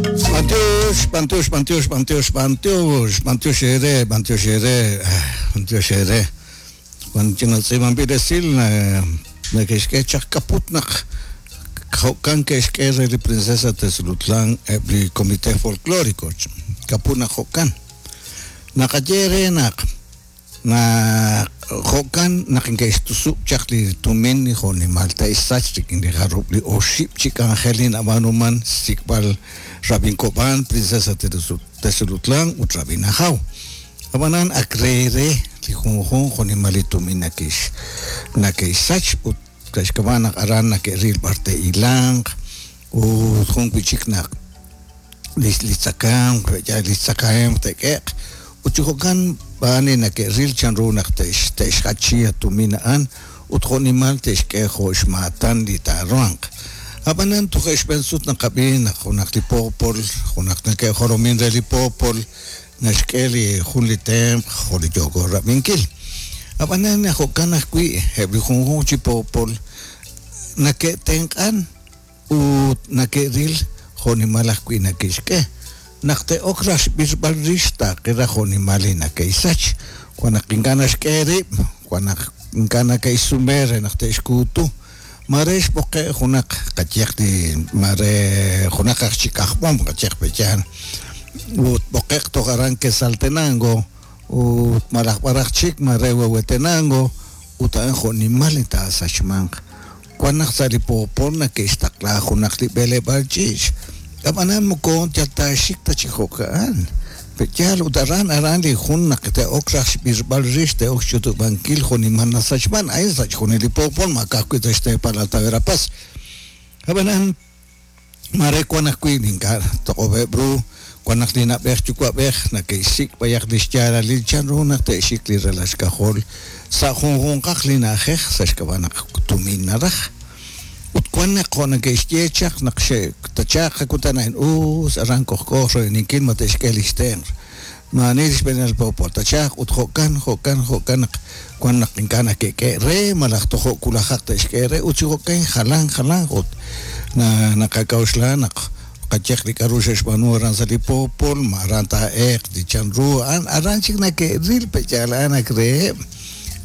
B'antiox, b'antiox, b'antiox, b'antiox, b'antiox, b'antiox eere, b'antiox eere, b'antiox eere. Wan ch'ina tz'iib'anb'il esil neke'xk'e chaq kaput naq jo'kan ke'xk'e re li Princesa Tezulutlán eb' li Comité Folklórico. Kaput naq jo'kan. Naqaye eere naq Naq jo'kan naq neke'xtusub' chaq li tumin jo' nimal te'xsach rik'in li jarub' li oxib' chi k'anjel li nab'aanuman, xsik'b'al Rab'in Kob'an, Princesa Tezulutlán ut Rab'in Ajaw. Ab'anan ak re re li junjunq jo' nimal li tumin nake'xsach ut sa' xk'ab'a' naq aran nake'ril b'ar te'hilanq ut jun wi' chik naq li li tzakahemq, yaal li tzakahemq te'k'e'q ut chi jo'kan b'aan li nake'ril chan ru naq te'x te'xjachi a tumin a'an ut jo' nimal te'xk'e jo' xmaatan li taaruhanq. Ab'anan toje' xb'een sut naqab'i naq junaq li poopol, junaq nake'jolomin re li poopol naxk'e li jun li tenq' jo' li yooko rab'inkil. Ab'anan jo'kan ajwi' eb' li junjunq chi poopol nake'tenq'an ut nake'ril jo'nimal ajwi' nake'xk'e. Naq te'ok raj xb'irb'al rix taaqe raj jo'nimal li nake'xsach. Wan naq ink'a' naxk'e rib', wan naq ink'a' nake'xsume re naq te'xkuutu. Maare xb'oqe' junaq qayehaq li maare junaq aj chik aj b'om qayehaq pe'yaal ut b'oqe'q toj aran Quetzaltenango ut malaj b'araq chik maare Huehuetenango ut a'an jo'nimal li taasachmanq. Wan naq sa' li poopol nake'xtaqla junaq li b'eleb'aal ch'iich', ab'anan moko yal taaxik ta chi jo'ka'an. Pe'yaal ut aran aran li jun naq te'ok raj xb'irb'al rix te'ok xch'utub'ankil jo'nimal nasachman, a'in sa' chixjunil li poopol ma ka'ajwi' sa' xteepal Alta Verapaz. Ab'anan Maare wan ajwi' li ink'a' toq'ob'eb' ru, wan naq li na'b'ej yuwa'b'ej neke'xsik' b'ayaq li xyaalalil chan ru naq te'xik li ralal xk'ajol sa' junjunqaq li na'ajej sa' xk'ab'a' naq tumin naraj. Ut wan naq jo' neke'xye chaq naq xe'tachaq qakutan a'in us aran k'ojk'o royb'eninkil ma te'xk'e li xtenq'. Maa'ani li xb'eenil poopol tachaq ut jo'kan, jo'kan, jo'kan naq wan naq ink'a' nake'k'e' re malaj tojo' wulajaq te'xk'e re ut chi jo'kan jalan jalanq ut naqak'a'uxla naq qayehaq li k'a'ru xe'xb'aanu aran sa' li poopol ma aran taa'eeq li chan ru a'an aran chik nake'ril pe' yaal a'an ak reheb'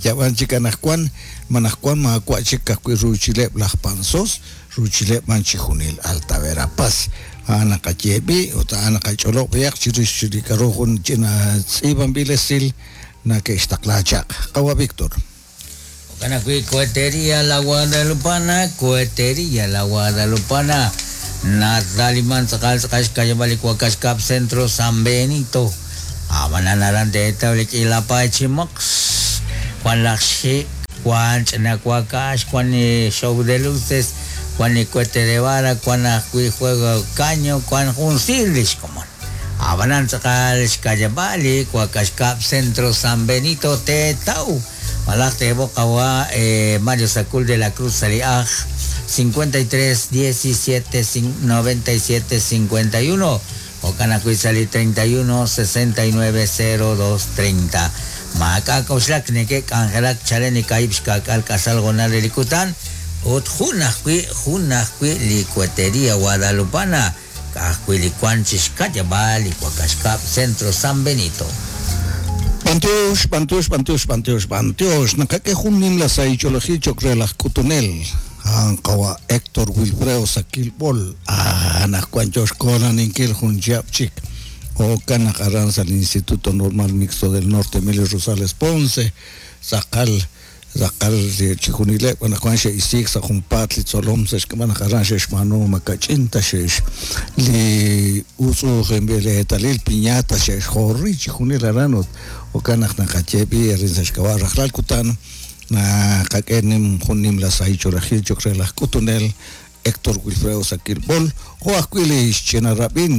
yab'an chik anaqwan ma anaqwan maawa' chik ka'ajwi' ruuchileb' laj Panzós ruuchileb' b'an chijunil Alta Verapaz. A'an naqaye b'i' ut a'an naqach'olob' b'ayaq chirix li k'a'ru jun ch'ina tz'iib'anb'il esil nake'xtaqla chaq. Qawa' Victor. Jo'kan ajwi' Cohetería La Guadalupana, Cohetería La Guadalupana, nataliman tz'aqal tz'aqal xka'yab'al li wakax kab' Centro San Benito. Ab'anan aran teetaw li k'iila paay chi moqs, wan laj xik', wan ch'ina wakax, wan li show de luces, wan li cohete de vara, wan ajwi' juego caño, wan jun siir li xkomon. Ab'anan tz'aqal xka'yab'al li wakax kab' Centro San Benito teetaw malaj teeb'oq qawa' Mario Sacul de la Cruz sa' li aj 53 17 97 51. Jo'kan ajwi' sa' li 31 69 02 30. Maak'a' k'oxlak neke'k'anjelak chalen li kaahib' xka'k'aal k'asal hoonal re li kutan ut jun ajwi' jun ajwi' li Cohetería Guadalupana, ka'ajwi' li wank chi xka'yab'aal li wakax kab' Centro San Benito. B'antiox, b'antiox, b'antiox, b'antiox, b'antiox! Naqak'e jun nimla sahil ch'oolejil cho'q re laj k'utunel. A'an qawa' Hector Wilfredo Saquil Bol, anaqwan yo xkoolaninkil jun chihab' chik. Jo'kan naq aran sa' li Instituto Normal Mixto del Norte Emilio Rosales Ponce, tz'aqal tz'aqal chixjunileb' anaqwan xe'isiik sa' junpaat li tzolom sa' xk'ab'a' naq aran xe'xb'aanu ma kach'in ta xe'x li utz'u'ujinb'il eetalil piñata xe'xjori chixjunil aran ut jo'kan naq naqaye b'i' arin sa' xk'ab'a' rajlal kutan Naqak'e nim jun nimla sahil ch'oolejil cho'q re laj k'utunel Hector Wilfredo Saquil Bol, jo' ajwi' li xch'ina rab'in,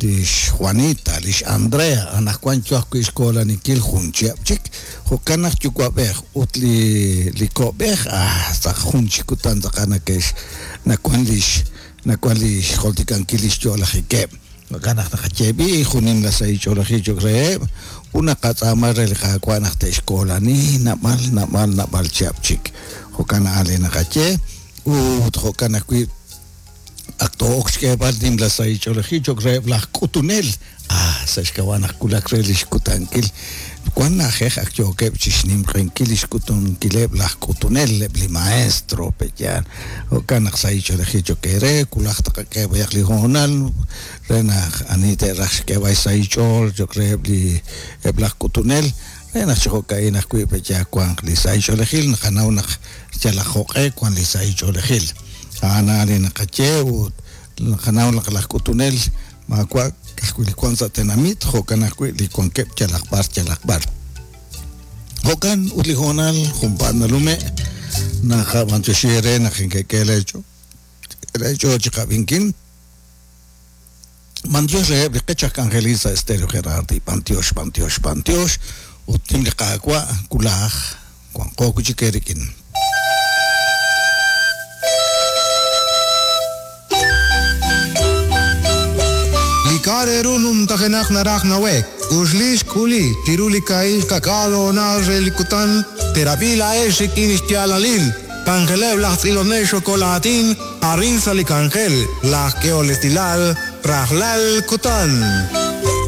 li xJuanita, li xAndrea, anaqwan yo ajwi' xkoolaninkil jun chihab' chik. Jo'kan naq yuwa'b'ej ut li li ko'b'ej, ah, sa' jun chik kutan tz'aqal nake'x nawan li nawan li xjoltikankil li xyo'lajikeb'. Jo'kan naq naqaye b'i' jun nimla sahil ch'oolejil cho'q reheb' ut naqatz'aama re li Qaawa' naq te'xkoolani naab'al, naab'al, naab'al chihab' chik. Jo'kan a'an li naqaye ut jo'kan ajwi' Ak too'ok xk'eeb'al nimla sahil ch'oolejil cho'q reheb' laj k'utunel. Ah, sa' xk'ab'a' naq wulak re li xkutankil. Wan na'ajej ak yookeb' chi xnimq'ehinkil li xk'utunkileb' laj k'utunel, eb' li maestro, pe'yaal. Jo'kan naq sahil ch'oolejil cho'q eere, wulaj tqak'e b'ayaq li hoonal re naq ani te'raj xk'eeb'al xsahil xch'ool cho'q reheb' li eb' laj k'utunel, re naq chi jo'ka'in ajwi' pe'yaal wanq li sahil ch'oolejil, naqanaw naq yalaq jo'q'e wan li sahil ch'oolejil. A'an a'an li naqaye ut naqanaw naq laj k'utunel maawa' ka'ajwi' li wank sa' tenamit, jo'kan ajwi' li wankeb' yalaq b'ar yalaq b'ar. Jo'kan ut li hoonal junpaat nalume', naqab'anyoxi eere naq inkek'e leech'ool chi qab'inkil. B'antiox reheb' li qech aj k'anjelil sa' Estéreo Gerardi, b'antiox, b'antiox, b'antiox, ut nim li Qaawa' wulaj wanqo wi' chik eerik'in. Li k'a' re ru numtajenaq naraj nawe'k, uxli xk'uli chiru li kaahib' xka'k'aal hoonal re li kutan, teerab'i laa'ex rik'in xyaalalil k'anjeleb' laj tz'ilonel xokol aatin arin sa' li k'anjel laj k'ehol esilal rajlal kutan.